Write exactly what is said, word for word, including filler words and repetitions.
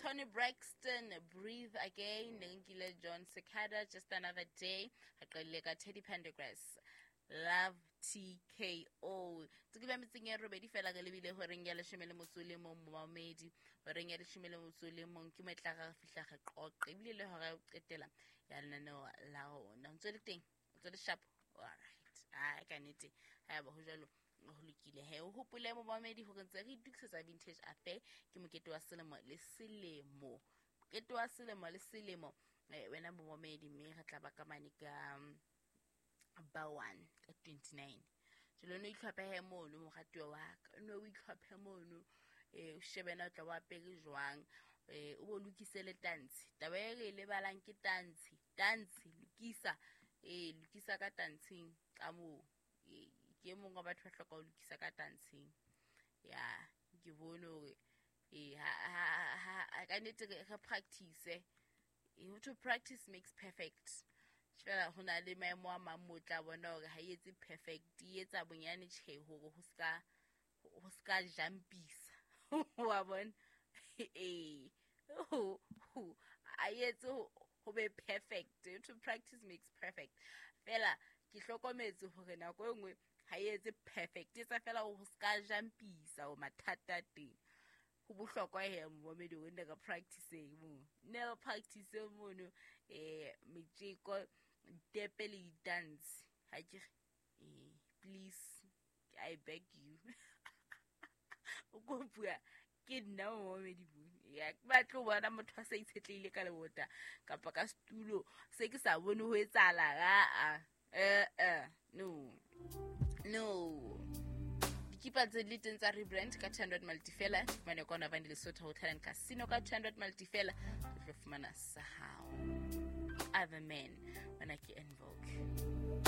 Toni Braxton, Breathe Again. Ne nkile Jon Secada, Just Another Day. Re qadile ka Teddy Pendergrass, Love T K O. Tse ba metseng ya robedi fela re lebile horeng ya leshome le motso le mong, momamedi. Horeng ya leshome le motso le mong ke mo e tla re fihla re qoqe ebile le hora ya ho qetela ya lenaneo la rona. O ntso le teng, o ntso le sharp. Alright, ai ka nnete ha ba ho jwalo, ho lokile he. O hopole, momamedi, hore ntse re itokisetsa Vintage Affair. Ke mokete wa selemo le selemo, mokete wa selemo le selemo, eh, wena momamedi, mme re tla ba ka mane ka um, ba one ka twenty-nine. Jalo no itlhophe mono, moratuwa wa ka, no o itlhophe mono, um o shebe na o tla o apere jwang, um o bo lokise le tantshe. Taba e re e lebalang ke tantshe. Tantshe lokisa, ee, lokisa ka tantsheng ka moo. Ee, ke e mongwe wa batho ba hloka ho lokisa ka tantsheng. Ya ke bone hore ee, ka nnete re practice. Ho to practice makes perfect. Fela ho na le maemo a mang mo tla bona hore ha e etse perfect, e etsa bonyane tjhe hore ho ska ho ska jumpisa wa bona. Ee, a etse ho be perfect. To practice makes perfect. Fela ke hlokometse hore nako e nngwe ha e etse perfect, etsa fela ho ska jumpisa o mathata teng. Ho bohlokwa he, momamedi, o nne ka practice mo, ne re practice mono, eh metjeko, ditepe le di-dance. Ha ke re eh please, I beg you, o ko bua ke nna momamedi mo ya ke batle ho bona motho a sa itshetlehile ka lebota kapa ka setulo se ke sa bone ho etsahala. Aa, eh eh no, no. Dikipa tse le teng tsa Rebrand ka two hundred multi fela. Fumane kwana Vane Lesotho Hotel and Casino ka two hundred multi fela, o tlo fumana sa hao. Other Men, wena ke En Vogue.